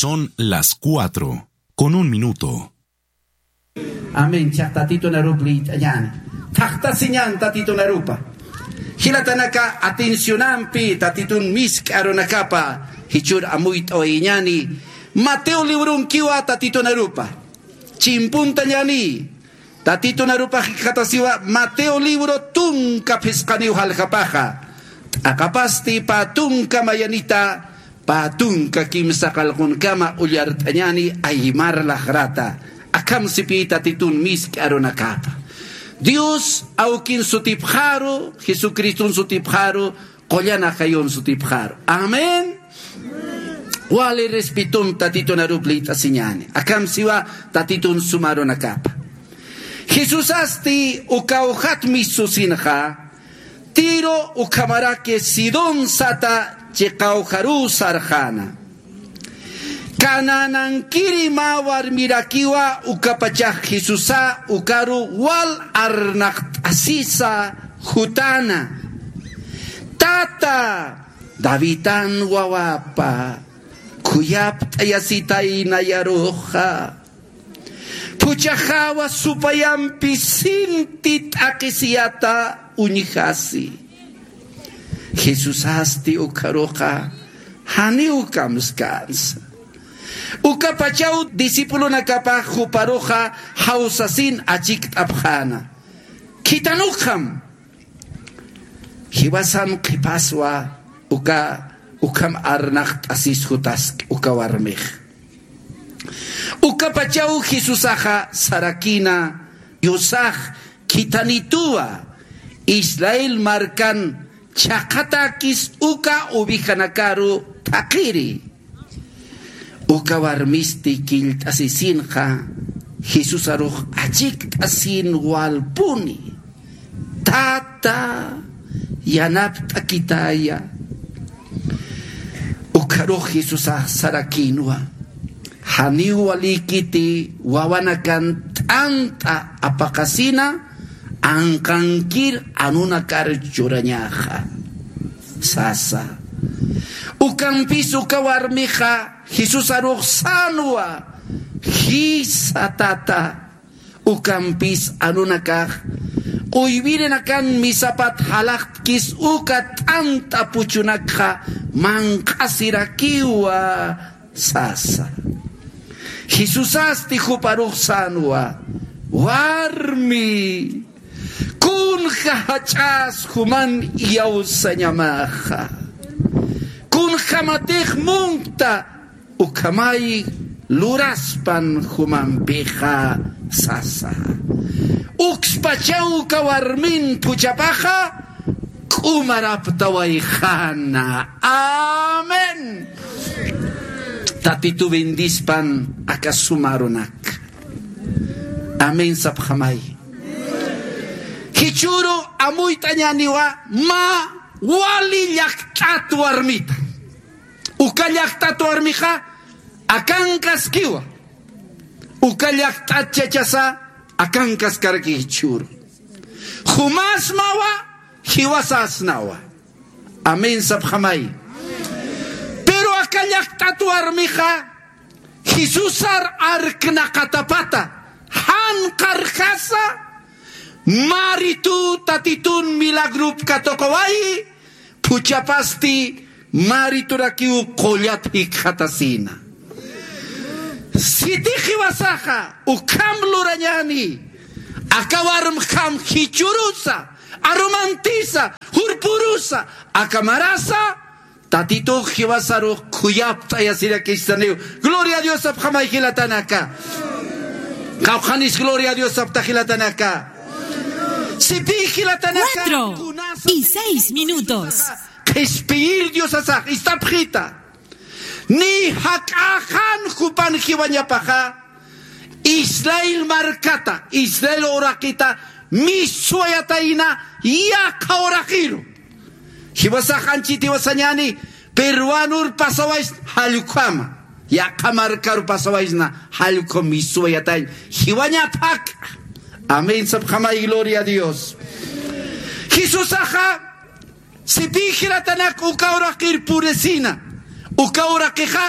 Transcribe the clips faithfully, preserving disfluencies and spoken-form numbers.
Son las cuatro con un minuto. Amén. Chaq tatitunarup liyt'añäni. Thaqtasiñän tatitunarupa. Jilatanaka atencionampi tatitun misk'a arunakapa jichhür amuyt'awayiñäni. Mateo librunkiwa tatitunarupa. Chimpuntañäni. Tatitunarupa jikxatasiwa Mateo libro tunka phisqaniw jaljapaxa. T'aqapasti pä tunka mayanita, pä tunka kimsa qallqunkama ullart'añäni aymar laqrata. Akham sipï tatitun misk'a arunakapa. Dios awkin sutipxaru, Jesucriston sutipxaru, qullan ajayun sutipxaru. Amén. Wali respetum tatitunarup liyt'asiñäni. Akham siwa tatitun suma arunakapa. Jesusasti uka awjat misusinxa, Tiro ukhamaraki Sidón sata chiqawjaruw sarxäna. Canaanankiri mä warmirakiwa ukapachax Jesusa ukaru wal arnaqt'asisa jutäna. Tata, Davidan wawapa, khuyapt'ayasitay nayaruxa. Phuchhaxawa supayampi sinti t'aqhisiyata uñjasi. Jesusasti ukharuxa janiw kamskänsa. Ukapachaw discipulonakapax juparuxa jawsasin achikt'apxäna. Khitanukxam. Jiwasan qhipaswa uka, ukham arnaqt'asis jutaski uka warmix. Ukapachaw Jesusaxa sarakïna, Diosax khithanituwa, Israel markan chhaqhatäkis uka ovejanakaru thaqhiri. Uka warmisti killt'asisinxa Jesusarux achikt'asin walpuni. Tata, yanapt'akitaya. Ukharux Jesusax sarakïnwa. Janiw walïkiti wawanakan t'ant'a apaqasina, anqankir anunakar churañaxa, sasa. Ukampis uka warmixa Jesusarux sänwa, jisa tata. Ukampis anunakax uywirinakan misapat jalaqtkis uka t'ant'a puchunakxa manq'asirakiwa, sasa. Jesusasti juparux sänwa, warmi, kunja jach'as juman iyawsañamaxa. Kunjamatix munkta ukhamay luraspan jumampixa, sasa. Ukspachaw uka warmin phuchhapaxa k'umaraptawayxäna. Amén. Tatitu bendispan aka suma arunak. Amén sapxamay. Jichhüru amuyt'añäniwa mä wali llakt'at warmita. Uka llakt'at warmixa akankaskiwa. Uka llakt'at chachasa akankaskaraki jichhüru. Jumasmawa, jiwasasnawa. Amén sapxamay. Pero aka llakt'at warmixa Jesusar arknaqatapata, jan qarjasa, maritu tatitun milagrup katuqawayi, phuchhapasti mariturakiw qullat jikxatasina. Sitix jiwasaxa ukham lurañäni, aka warmxam jichhürusa, arumantisa, jurpürusa, aka marasa, Tatitux jiwasarux khuyapt'ayasirakistaniw. Gloria a Dios sapxamay jilatanaka. Qawqhanis gloria a Dios sapxta jilatanaka. Sipï jilatanaka. Cuatro y seis minutos. Qhispiyir Diosasax ist'apxita. Ni jak'axan jupan jiwañapaxa Israel markata, Israel uraqita miswayatayna yaqha uraqiru. Jiwasax anchhit jiwasañäni, peruanur pasawaysna jallkhama, yaqha markaru pasawaysna jallkham miswayatañ jiwañap jak'a. Amén sapxamay, gloria a Dios. Jesusaxa sipï jilatanak uka uraqir purisina, uka uraqixa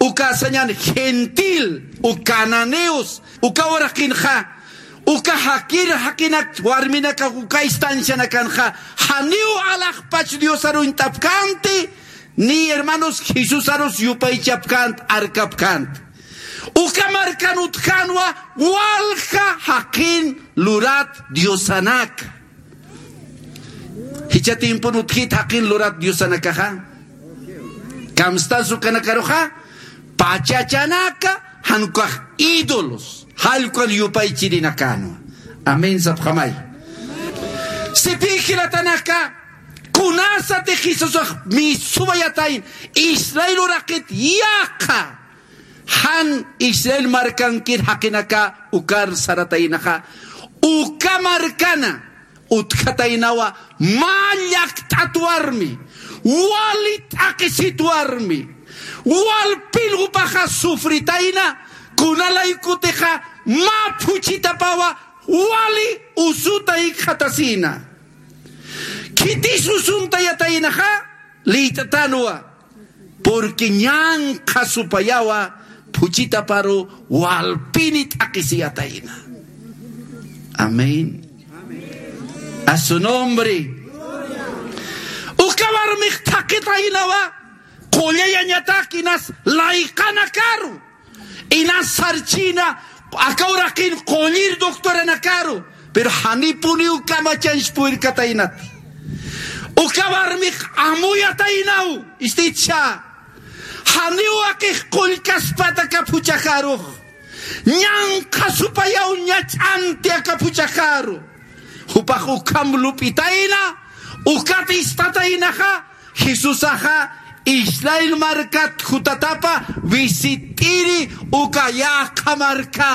uka sañan gentil, uka cananeos, uka uraqinxa, uka jakir jaqinak warminaka uka istancianakanxa, janiw alaxpach Diosar uñt'apkänti, ni hermanos Jesusarus yupaychapkänti, arkapkänti. Uka markan utjänwa walja jaqin lurat diosanaka. Jichha tiempon utjit jaqin lurat diosanakaxa. Kamstas ukanakaruxa, pachachanaka, jan ukax ídolos, jallk'uan yupaychirinakänwa. Amén sapxamay. Sipï jilatanaka, kunasatix Jesusax misuwayatayn, Israel uraqit yaqha. Jan Israel markankir jaqinaka ukar sarataynaxa, uka markana utjataynawa mä llakt'at warmi, wali t'aqisit warmi, walpin jupaxa sufritayna, kunalaykutixa mä phuchhitapawa wali usuta ikxatasïna. Khitis usuntayataynaxa, liyt'atanwa, porque ñanqha supayawa phuchhitaparu walpini t'aqisiyatayna. Amén. A su nombre. Uka warmix thaqitaynawa, qullayañatak inas layqanakaru. Inas sarchina, aka uraqin qullir doctoranakaru, pero janipuniw kamachanch purirkataynati. Uka warmix amuyataynaw, istitcha. Janiw aqix qullkaspata aka phuchhaxarux. Ñanqha supayaw ñach'anti aka phuchhaxaru. Jupax ukham lup'itayna, ukat istataynaxa, Jesusaxa Israel markat jutatapa visit'iri uka yaqha marka.